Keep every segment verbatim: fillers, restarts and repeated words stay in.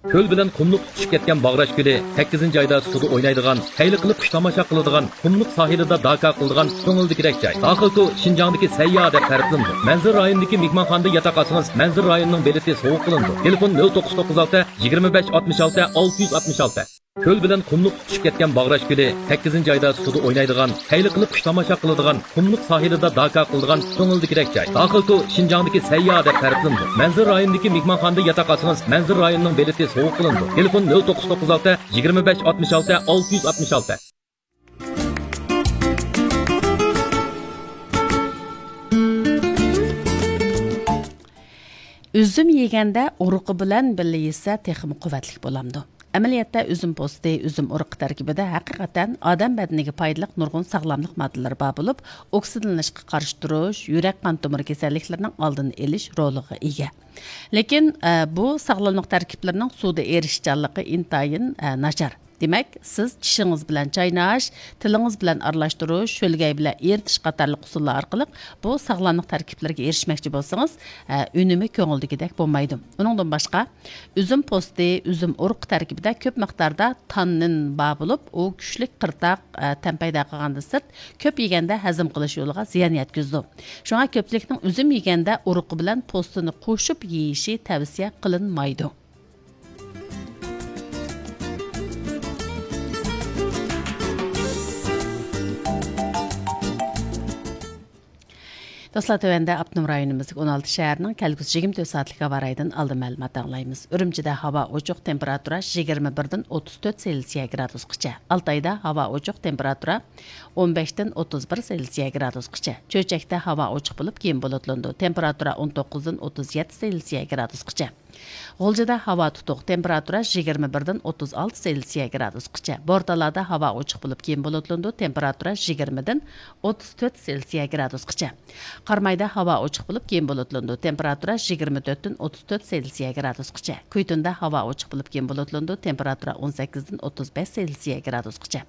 كۆل بىلەن قۇملۇق تۇتىشىپ كەتكەن باغراش كۆلى، سەككىزىنچى ئايدا سۇدا ئوينايدىغان، خەيلى قىلىپ قۇش تاماشا قىلىدىغان، قۇملۇق ساھىلىدا داكا قىلىدىغان كۆڭۈلدىكىدەك جاي. داخىلكو شىنجاڭدىكى سەيياھ دەپ تەرىپلىنىدۇ. مەنزىرە رايونىدىكى مېھمانخانىدا ياتاق ئالسىڭىز، مەنزىرە رايونىنىڭ بېلىتى سوۋغا قىلىنىدۇ. تېلېفون: نۆل توققۇز توققۇز ئالتە، يىگىرمە بەش، ئاتمىش ئالتە، ئالتە يۈز ئاتمىش ئالتە. كۆل بىلەن قۇملۇق تۇتۇشۇپ كەتكەن باغراش كۆلى، سەككىزىنچى ئايدا سۇدا ئوينايدىغان، خەيلى قىلىپ قۇش تاماشا قىلىدىغان، قۇملۇق ساھىلىدا داكا قىلىدىغان كۆڭۈلدىكىدەك جاي. داخىلكو شىنجاڭدىكى سەيياھ دەپ تەرىپلىنىدۇ. مەنزىرە رايونىدىكى مېھمانخانىدا ياتاق ئالسىڭىز، مەنزىرە رايونىنىڭ بېلىتى سوۋغا قىلىنىدۇ. تېلېفون: نۆل توققۇز توققۇز ئالتە، يىگىرمە بەش، ئاتمىش ئالتە، ئالتە يۈز ئاتمىش ئالتە. ئۈزۈم يېگەندە ئۇرۇقى بىلەن بىللە يېسە تېخىمۇ قۇۋۋەتلىك بولامدۇ؟ ئەمەلىيەتتە ئۈزۈم پوستى، ئۈزۈم ئۇرۇقى تەركىبىدە ھەقىقەتەن ئادەم بەدىنىگە پايدىلىق نۇرغۇن ساغلاملىق ماددىلىرى بار بولۇپ، ئوكسىدلىنىشقا قارشى تۇرۇش، يۈرەك قان تومۇر كېسەللىكلىرىنىڭ ئالدىنى ئېلىش رولىغا ئىگە. لېكىن، ئە، بۇ ساغلاملىق تەركىبلىرىنىڭ سۇدا ئېرىشىشچانلىقى ئىنتايىن، ئە، ناچار. دېمەك، سىز چىشىڭىز بىلەن چايناش، تىلىڭىز بىلەن ئارىلاشتۇرۇش، شۆلگەي بىلەن ئېرىتىش قاتارلىق ئۇسۇللار ئارقىلىق بۇ ساغلاملىق تەركىبلىرىگە ئېرىشمەكچى بولسىڭىز، ئە، ئۈنۈمى كۆڭۈلدىكىدەك بولمايدۇ. ئۇنىڭدىن باشقا، ئۈزۈم پوستى، ئۈزۈم ئۇرۇقى تەركىبىدە كۆپ مىقداردا تاننىن بار بولۇپ، ئۇ كۈچلۈك قىرتاق، ئە، تەم پەيدا قىلغاندىن سىرت، كۆپ يېگەندە ھەزىم قىلىش يولىغا زىيان يەتكۈزىدۇ. شۇڭا كۆپچىلىكنىڭ ئۈزۈم يېگەندە ئۇرۇقى بىلەن پوستىنى قوشۇپ يېيىشى تەۋسىيە قىلىنمايدۇ. دوستلار، تۆۋەندە ئاپتونوم رايونىمىزدىكى ئون ئالتە شەھەرنىڭ كەلگۈسى يىگىرمە تۆت سائەتلىك ھاۋا رايىدىن ئالدىن مەلۇمات ئاڭلايمىز. ئۈرۈمچىدە ھاۋا ئوچۇق، تېمپېراتۇرا يىگىرمە بىردىن ئوتتۇز تۆت سېلسىيە گرادۇسقىچە. ئالتايدا ھاۋا ئوچۇق، تېمپېراتۇرا ئون بەشتىن ئوتتۇز بىر سېلسىيە گرادۇسقىچە. چۆچەكتە ھاۋا ئوچۇق بولۇپ، كېيىن بۇلۇتلىنىدۇ، تېمپېراتۇرا ئون توققۇزدىن ئوتتۇز يەتتە سېلسىيە گرادۇسقىچە. غۇلجىدا ھاۋا تۇتۇق، تېمپېراتۇرا يىگىرمە بىردىن ئوتتۇز ئالتە سېلسىيە گرادۇسقىچە. بورتالادا ھاۋا ئوچۇق بولۇپ، كېيىن بۇلۇتلىنىدۇ، تېمپېراتۇرا يىگىرمىدىن ئوتتۇز تۆت سېلسىيە گرادۇسقىچە. قارامايدا ھاۋا ئوچۇق بولۇپ، كېيىن بۇلۇتلىنىدۇ، تېمپېراتۇرا يىگىرمە تۆتتىن ئوتتۇز تۆت سېلسىيە گرادۇسقىچە. كۈيتۇندا ھاۋا ئوچۇق بولۇپ، كېيىن بۇلۇتلىنىدۇ، تېمپېراتۇرا ئون سەككىزدىن ئوتتۇز بەش سېلسىيە گرادۇسقىچە.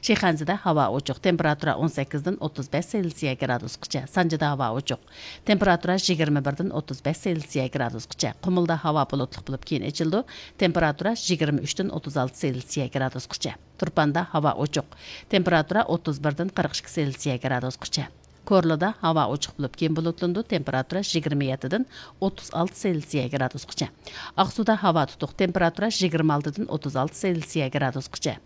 شىخەنزىدە ھاۋا ئوچۇق، تېمپېراتۇرا ئون سەككىزدىن ئوتتۇز بەش سېلسىيە گرادۇسقىچە. سانجىدا ھاۋا ئوچۇق، تېمپېراتۇرا يىگىرمە بىردىن ئوتتۇز بەش سېلسىيە گرادۇسقىچە. قۇمۇلدا ھاۋا بۇلۇتلۇق بولۇپ، كېيىن ئېچىلىدۇ، تېمپېراتۇرا يىگىرمە ئۈچتىن ئوتتۇز ئالتە سېلسىيە گرادۇسقىچە. تۇرپاندا ھاۋا ئوچۇق، تېمپېراتۇرا ئوتتۇز بىردىن قىرىق ئىككى سېلسىيە گرادۇسقىچە. كورلىدا ھاۋا ئوچۇق بولۇپ، كېيىن بۇلۇتلىنىدۇ، تېمپېراتۇرا يىگىرمە يەتتىدىن ئوتتۇز ئالتە سېلسىيە گرادۇسقىچە. ئاقسۇدا ھاۋا تۇتۇق، تېمپېراتۇرا يىگىرمە ئالتىدىن ئوتتۇز ئالتە سېلسىيە گرادۇسقىچە.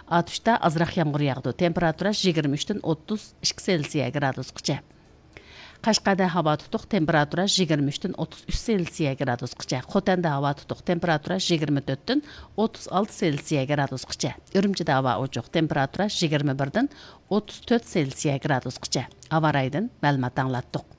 ئاتۇشتا ئازراق يامغۇر ياغىدۇ، تېمپېراتۇرا يىگىرمە ئۈچتىن ئوتتۇز ئىككى سېلسىيە گرادۇسقىچە. قەشقەردە ھاۋا تۇتۇق، تېمپېراتۇرا يىگىرمە ئۈچتىن ئوتتۇز ئۈچ سېلسىيە گرادۇسقىچە. خوتەندە ھاۋا تۇتۇق، تېمپېراتۇرا يىگىرمە تۆتتىن ئوتتۇز ئالتە سېلسىيە گرادۇسقىچە. ئۈرۈمچىدە ھاۋا ئوچۇق، تېمپېراتۇرا يىگىرمە بىردىن ئوتتۇز تۆت سېلسىيە گرادۇسقىچە. ھاۋا رايىدىن مەلۇمات ئاڭلاتتۇق.